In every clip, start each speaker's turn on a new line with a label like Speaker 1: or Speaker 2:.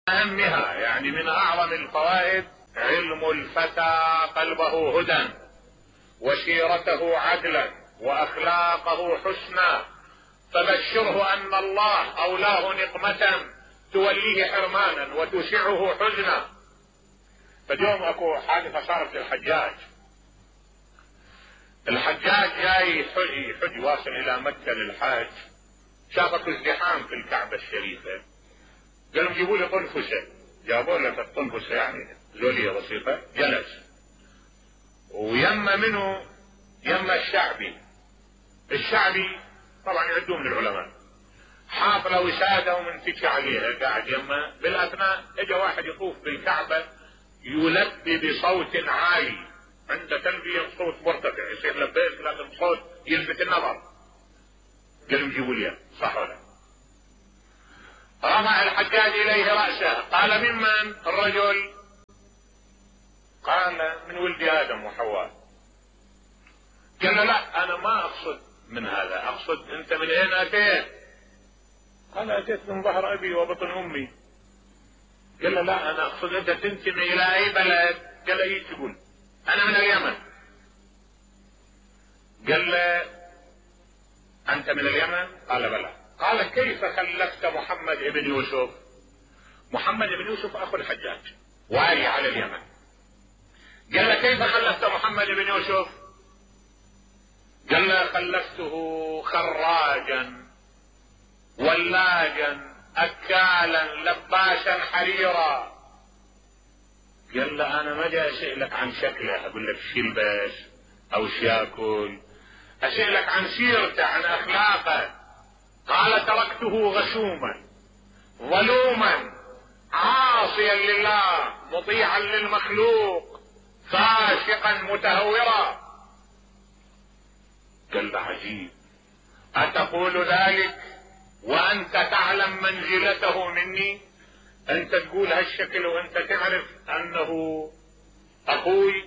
Speaker 1: أهمها يعني من أعظم الفوائد علم الفتى قلبه هدى وسيرته عدلا وأخلاقه حسنا، فبشره أن الله أولاه نقمة توليه حرمانا وتسعه حزنا. فاليوم اكو حادثة صارت للحجاج. الحجاج جاي يحج واصل إلى مكة للحاج، شافك ازدحام في الكعبة الشريفة، قالوا جيبوا لي طنفسة، جابوا له الطنفسة يعني زولية بسيطة، جلس ويما منه يما الشعبي طبعا يعدوه من العلماء، حاط له وسادة ومنتكي عليها قاعد يما. بالاثناء اجى واحد يطوف بالكعبة يلبي بصوت عالي، عنده تلبية صوت مرتفع يصير لبيك لكن صوت يلفت النظر. قالوا جيبوا لي، صح ولا؟ رفع الحجاج اليه رأسه، قال ممن الرجل؟ قال من ولد ادم وحواء. قال له لا انا ما اقصد من هذا، اقصد انت من اين اتيت؟ قال اتيت من ظهر ابي وبطن امي. قال له لا انا اقصد انت تنتمي الى اي بلد؟ قال له ايش تقول؟ انا من اليمن. قال له انت من اليمن؟ قال بلى. قال كيف خلفت محمد ابن يوسف؟ محمد ابن يوسف اخو الحجاج والي على اليمن. قال له كيف خلفت محمد ابن يوسف؟ قال له خلفته خراجا ولاجا اكالا لباسا حريرا. قال له انا ما جاي اسالك عن شكله اقول لك شو يلبس او شو ياكل، اسالك عن سيرته عن اخلاقه. قال تركته غشوما ظلوما عاصيا لله مطيعا للمخلوق فاسقا متهورا. قال له عجيب، اتقول ذلك وانت تعلم منزلته مني؟ انت تقول هالشكل وانت تعرف انه اخوي؟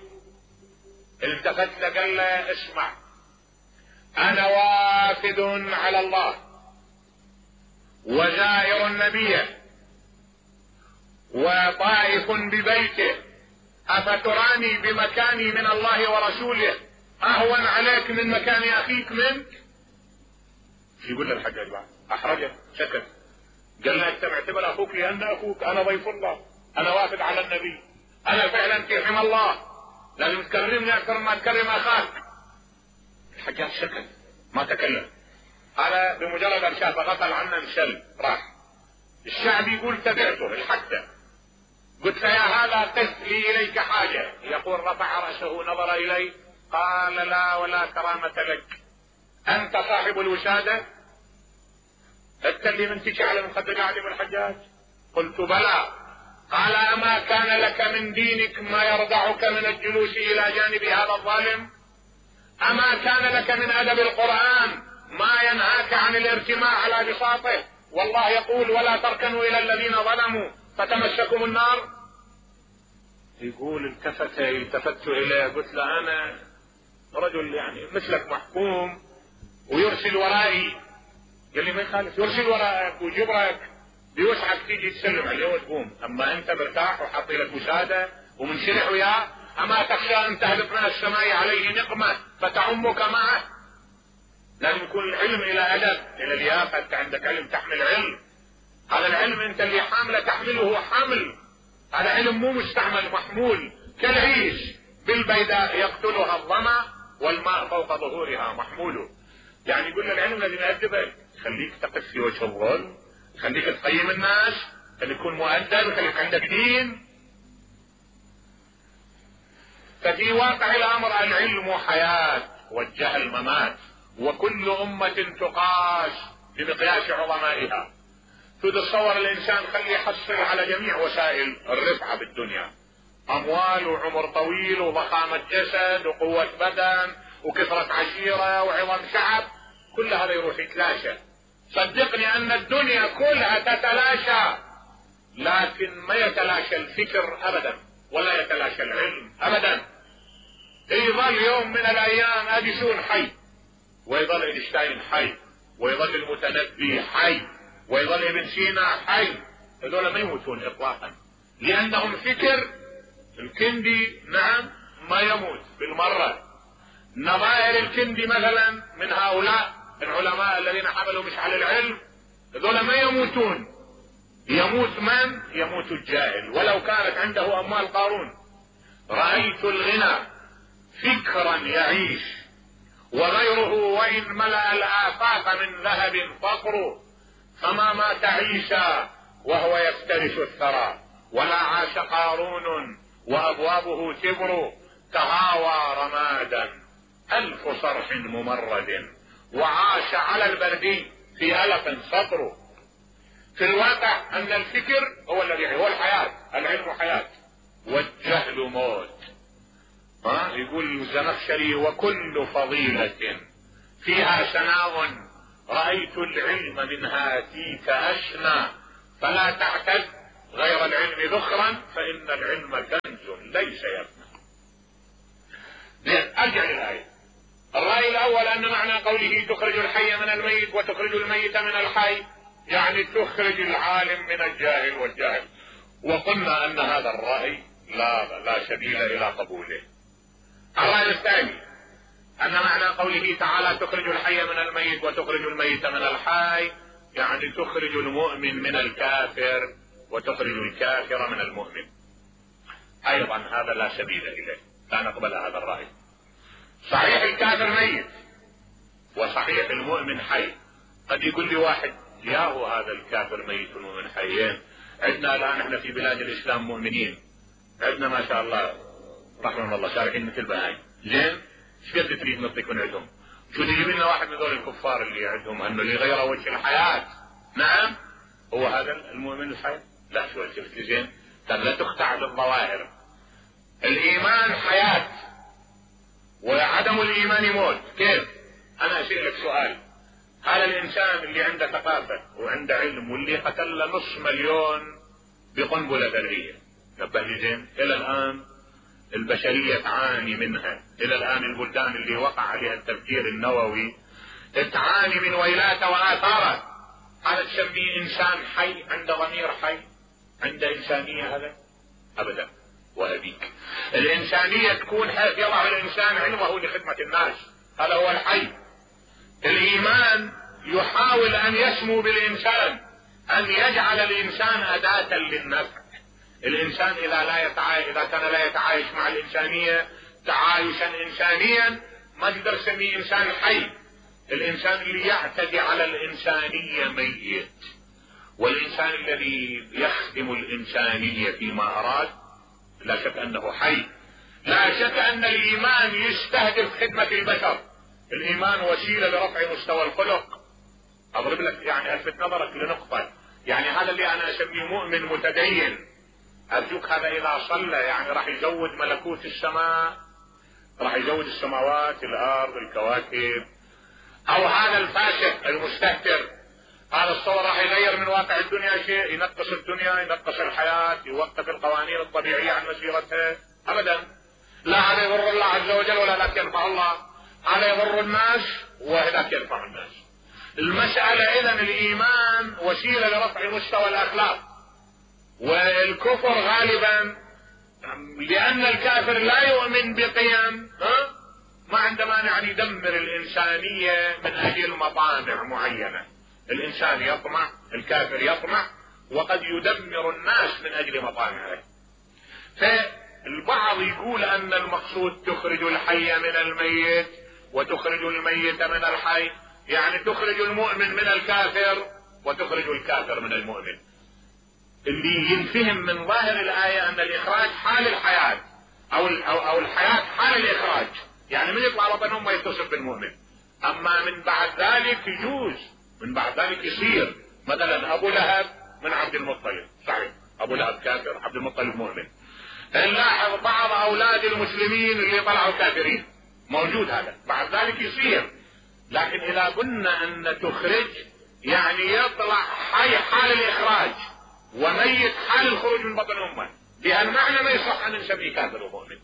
Speaker 1: التفت له قال له اسمع، انا وافد على الله وزائر النبي وطائف ببيته، افتراني بمكاني من الله ورسوله اهون عليك من مكان اخيك منك؟ يقول له الحجاج بعد احرجه سكت. قال له انت معتبر اخوك لان اخوك، انا ضيف الله، انا وافد على النبي، انا فعلا في حمى الله، لازم تكرمني اكثر ما تكرم اخاك. الحجاج سكت ما تكلم. انا بمجرد ان شافه غفل عنه انشل راح. الشعب يقول تبعته الحتى، قلت يا هذا قف لي اليك حاجه. يقول رفع راسه نظر الي قال لا ولا كرامه لك، انت صاحب الوساده؟ انت اللي منتشي على مخدر قاعد ابن الحجاج؟ قلت بلى. قال اما كان لك من دينك ما يردعك من الجلوس الى جانب هذا الظالم؟ اما كان لك من ادب القرآن ما ينهاك عن الارتماء على بساطه؟ والله يقول ولا تركنوا الى الذين ظلموا فتمسكم النار. يقول التفت اليه قلت له انا رجل يعني مثلك محكوم ويرسل ورائي. قال لي ما يخالف، يرسل ورائك وجبرك بيوسعك تيجي تسلم عليه وتقوم، اما انت مرتاح وحاطي لك وساده ومنشرح وياه، اما تخشى ان تهبط من السماء عليه نقمه فتعمك معه؟ لازم يكون العلم الى ادب الى لياقه. انت عندك علم تحمل علم، هذا العلم انت اللي حامله تحمله حمل، هذا علم مو مستعمل محمول كالعيش بالبيداء يقتلها الظما والماء فوق ظهورها محموله. يعني يقول العلم لازم يأدبك، خليك تقف في وجه الظلم، خليك تقيم الناس، خليك تكون مؤدب، خليك عندك دين. ففي واقع الامر العلم حياة والجهل ممات، وكل امة تقاس بمقياس عظمائها. تتصور الانسان خليه يحصل على جميع وسائل الرفعة بالدنيا، اموال وعمر طويل وضخامة جسد وقوة بدن وكثرة عشيرة وعظم شعب، كل هذا يروح يتلاشى. صدقني ان الدنيا كلها تتلاشى، لكن ما يتلاشى الفكر ابدا ولا يتلاشى العلم ابدا. يظل يوم من الايام اديسون حي، ويظل اينشتاين حي، ويظل المتنبي حي، ويظل ابن سينا حي، هذول ما يموتون اطلاقا، لانهم فكر الكندي نعم ما يموت بالمرة. نظائر الكندي مثلا من هؤلاء العلماء الذين حملوا مشعل العلم، هذول ما يموتون. يموت من؟ يموت الجاهل ولو كانت عنده اموال قارون. رأيت الغنى فكرا يعيش، وغيره وإن ملأ الآفاق من ذهب فقر، فما مات عيسى وهو يفترش الثرى، ولا عاش قارون وأبوابه تبر، تهاوى رمادا 1000 صرح ممرد، وعاش على البردي في ألف سطر. في الواقع أن الفكر هو الذي هو الحياة، العلم حياة والجهل موت. يقول الزمخشري: وكل فضيلة فيها سناء، رأيت العلم من هاتيك أشنى، فلا تعتد غير العلم ذخرا، فإن العلم كنز ليس يفنى. ارجع للآية. الرأي الأول أن معنى قوله تخرج الحي من الميت وتخرج الميت من الحي، يعني تخرج العالم من الجاهل والجاهل، وقلنا أن هذا الرأي لا سبيل إلى قبوله. الرأي الثاني أن معنى قوله تعالى تخرج الحي من الميت وتخرج الميت من الحي، يعني تخرج المؤمن من الكافر وتخرج الكافر من المؤمن. أيضا هذا لا سبيل إليه، لا نقبل هذا الرأي. صحيح الكافر ميت وصحيح المؤمن حي. قد يقول لي واحد: ياهو هذا الكافر ميت والمؤمن حيين، عندنا الآن احنا في بلاد الإسلام مؤمنين، عندنا ما شاء الله رحمه الله شارحين مثل بهاي، زين ايش قد تريد نطلق من عندهم؟ شو تجيب لنا واحد من ذول الكفار اللي عندهم انه اللي غير وجه الحياة نعم هو هذا المؤمن الحي؟ لا، شو شفت زين؟ لا تخدع بالظواهر. الايمان حياة وعدم الايمان موت. كيف؟ انا اسألك سؤال: هذا الانسان اللي عنده ثقافة وعنده علم واللي قتل له 500,000 بقنبلة ذرية، نبه لي زين، الى الان البشرية تعاني منها، الى الان البلدان اللي وقع عليها التفجير النووي تعاني من ويلاته واثاره. هذا تسميه انسان حي عنده ضمير حي؟ عنده انسانية هذا؟ ابدا. وابيك الانسانية تكون حيث يضع الانسان علمه لخدمة الناس، هذا هو الحي. الايمان يحاول ان يسمو بالانسان، ان يجعل الانسان اداة للنفع. الانسان اذا كان لا يتعايش مع الانسانية تعايشا انسانيا ما تقدر تسميه انسان حي. الانسان اللي يعتدي على الانسانية ميت، والانسان الذي يخدم الانسانية فيما اراد لا شك انه حي. لا شك ان الايمان يستهدف خدمة البشر. الايمان وسيلة لرفع مستوى الخلق. اضرب لك يعني الفت نظرك لنقطة، يعني هذا اللي انا اسميه مؤمن متدين، ارجوك هذا اذا صلى يعني راح يزود ملكوت السماء، راح يزود السماوات الارض الكواكب. او هذا الفاسق المستهتر، هذا الصور راح يغير من واقع الدنيا شيء، ينقص الدنيا، ينقص الحياة، يوقف القوانين الطبيعية عن مسيرتها؟ ابدا. لا هذا يضر الله عز وجل ولا ذاك ينفع الله، هذا يضر الناس وذاك ينفع الناس. المسألة اذا الايمان وسيلة لرفع مستوى الاخلاق، والكفر غالبا لان الكافر لا يؤمن بقيم ما عنده مانع ان يدمر الانسانية من اجل مطامع معينة. الانسان يطمع، الكافر يطمع، وقد يدمر الناس من اجل مطامعه. فالبعض يقول ان المقصود تخرج الحي من الميت وتخرج الميت من الحي، يعني تخرج المؤمن من الكافر وتخرج الكافر من المؤمن. اللي ينفهم من ظاهر الآية أن الإخراج حال الحياة أو الحياة حال الإخراج، يعني من يطلع بطن أمه يتصف بالمؤمن. أما من بعد ذلك يجوز، من بعد ذلك يصير مثلا أبو لهب من عبد المطلب، صحيح أبو لهب كافر، عبد المطلب مؤمن. نلاحظ بعض أولاد المسلمين اللي طلعوا كافرين، موجود هذا، بعد ذلك يصير. لكن إذا قلنا أن تخرج يعني يطلع حي حال الإخراج وميت حال الخروج من بطن امه، بهالمعنى ما يصح ان نسميه كافر ومؤمن.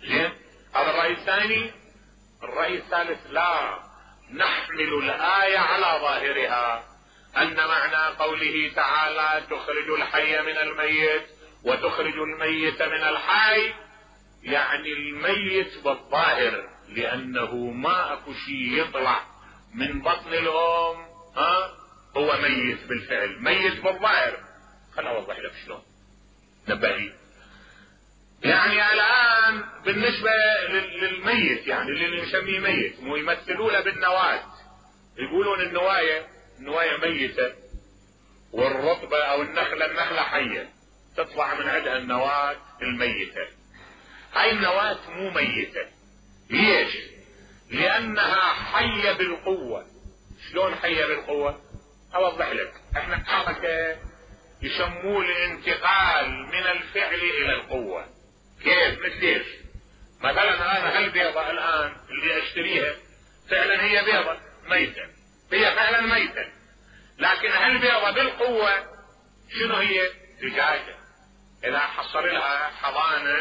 Speaker 1: زين، هذا الرأي الثاني. الرأي الثالث: لا، نحمل الآية على ظاهرها. ان معنى قوله تعالى تخرج الحي من الميت وتخرج الميت من الحي، يعني الميت بالظاهر، لانه ما اكو شيء يطلع من بطن الام هو ميت بالفعل، ميت بالظاهر. خلنا اوضح لك شلون نبهي. يعني الان بالنسبة للميت، يعني اللي نسميه ميت، يمثلونه بالنواة، يقولون النواية ميتة، والرطبة او النخلة حية، تطلع من عندها النواة الميتة. هاي النواة مو ميتة. ليش؟ لانها حية بالقوة. شلون حية بالقوة؟ اوضح لك. احنا حركة يسموه الانتقال من الفعل الى القوة. كيف؟ مثل مثلا انا هالبيضة الان اللي اشتريها فعلا هي بيضة ميتة، هي فعلا ميتة، لكن هالبيضة بالقوة شنو هي؟ دجاجة. اذا حصل لها حضانة